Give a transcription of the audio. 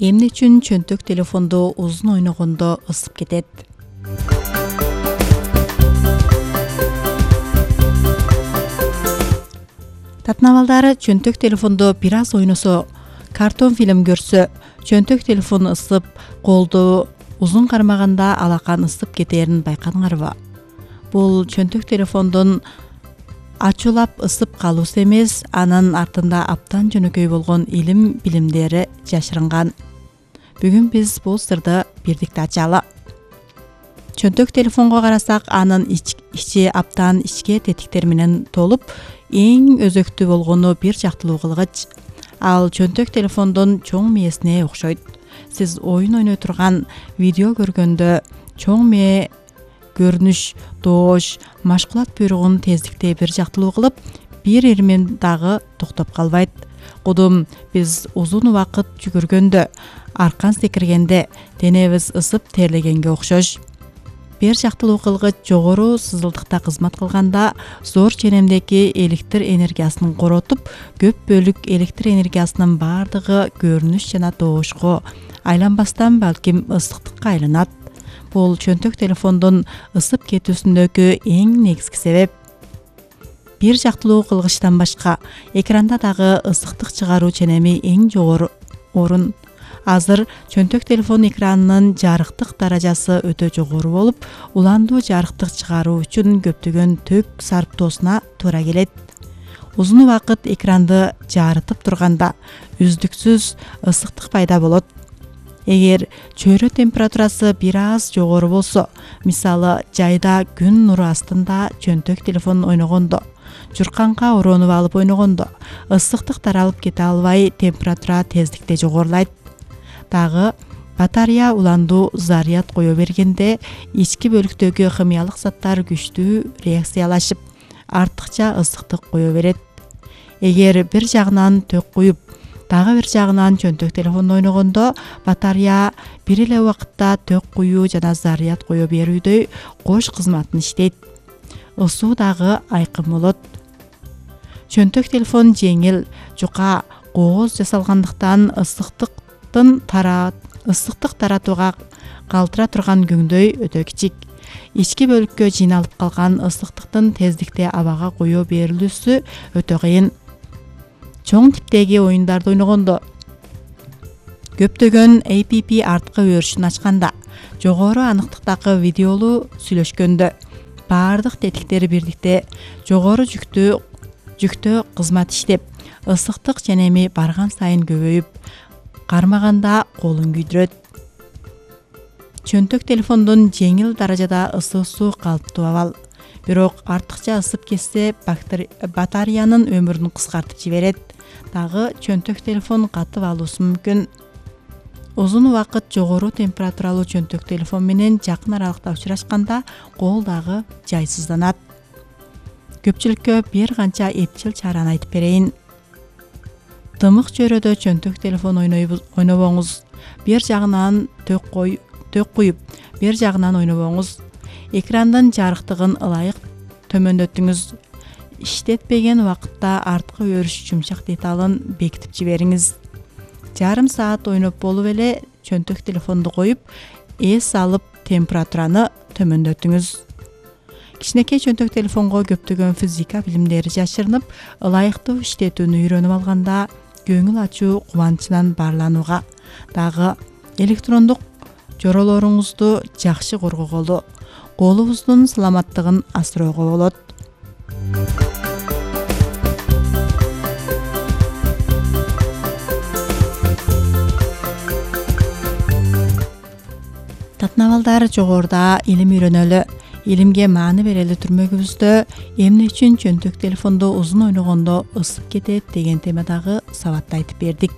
Эмне үчүн чөнтөк телефонду узун ойногондо ысып кетет? Татнабалдары чөнтөк телефондо бир аз ойносо, картон фильм көрсө, чөнтөк телефон ысып, колду узун кармаганда алакан ысып кетерин байкадыңарбы? Бул чөнтөк телефондун ачуулап ысып калуусу эмес, анын артында абдан жөнөкөй болгон илим билимдери жашырынган. Бүгүн биз бул сырды бирдикте ачалы. Чөнтөк телефонго карасак, анын ичи абдан ичке тетиктер менен толуп, эң өзөктүү болгону бир жактылуу кылгыч. Ал чөнтөк телефондун чоң мээсине окшойт. Сиз оюн ойной турган видео көргөндө чоң мээ көрүнүш, доош, машгулат буйругун тездикте бир жактылуу кылып, бир ирмен дагы токтоп калбайт. Кудум биз узун убакыт жүгүргөндө, аркан секиргенде денебиз ысып терлегенге окшош. Бир жактылуу кылгыч жогору сызылдыкта кызмат кылганда зор ченемдеги электр энергиясын коротуп, көп бөлүк электр энергиясынын бардыгы көрүнүш жана доошко айланбастан балким ысыктыкка айланат. Бул чөнтөк телефондун ысып кетүүсүндөгү эң негизги себеп. Бир жактылуу кылгычтан башка экранда дагы ысыктык чыгаруу ченеми эң жогору орун. Азыр чөнтөк телефон экранынын жарыктык даражасы өтө жогору болуп, уландуу жарыктык чыгаруу үчүн көптөгөн ток сарптоосуна туура келет. Узун убакыт экранды жарытып турганда үздүксүз ысыктык пайда болот. Эгер чөйрө температурасы бир аз жогору болсо, мисалы жайда күн нуру астында чөнтөк телефон ойногондо, журканга оронуп алып ойногондо, ысыктык таралып кете албай, температура тездикте жогорулайт. Дагы батарея уландуу заряд кое бергенде ички бөлүктөгү химиялык заттар күчтүү реакциялашып, артыкча ысыктык кое берет. Эгер бир жагынан ток куюп, дагы бир жагынан чөнтөк телефондо ойногондо, батарея бир эле убакытта ток куюу жана заряд кое берүүдөй кош кызматын иштейт. Ысуу дагы айкын болот. Чөнтөк телефон жеңил, жука, кооз жасалгандыктан ысыктык таратууга калтыра турган көңдөй өтө кичик. Ички бөлүккө жыйналып калган ысыктыктын тездикте абага кое берилүүсү өтө кыйын. Чоң типтеги оюндарды ойногондо, көптөгөн app арткы өрүшүн ачканда, жогору аныктыктагы видеолуу сүйлөшкөндө, баардык тетиктери бирдикте жогору жүктө кызмат иштеп, ысыктык ченеми барган сайын көбөйүп, кармаганда колун күйдүрөт. Чөнтөк телефондун жеңил даражада ысуусу калыптуу абал. Бирок артыкча ысып кетсе, батареянын өмүрүн кыскартып жиберет. Дагы чөнтөк телефон катып алуусу мүмкүн. Узун убакыт жогору температуралуу чөнтөк телефон менен жакын аралыкта учурашканда кол дагы жайсызданат. Көпчүлүккө бир канча эпчил чараны айтып берейин. Дымык чөйрөдө чөнтөк телефон ойнобоңуз. Бир жагынан ток куюп, бир жагынан ойнобоңуз. Экрандын жарыктыгын ылайык төмөндөтүңүз. Иштетпеген убакытта арткы өрүш жумшак деталын бекитип жибериңиз. Жарым саат ойноп болуп эле чөнтөк телефонду коюп, эс алып температураны төмөндөтүңүз. Кичинекей чөнтөк телефонго көптөгөн физика билимдери жашырынып, ылайыктуу иштетүүнү үйрөнүп алганда, көңүл ачуу кубанычынан баарланууга, дагы электрондук жоролоруңузду жакшы коргоголу, колубуздун саламаттыгын асыроого болот. Татнабалдар жогоруда илим үйрөнөлү, илимге маани берели түрмөгүбүздө эмне үчүн чөнтөк телефондо узун ойногондо ысып кетет деген темадагы сабатты айтып бердик.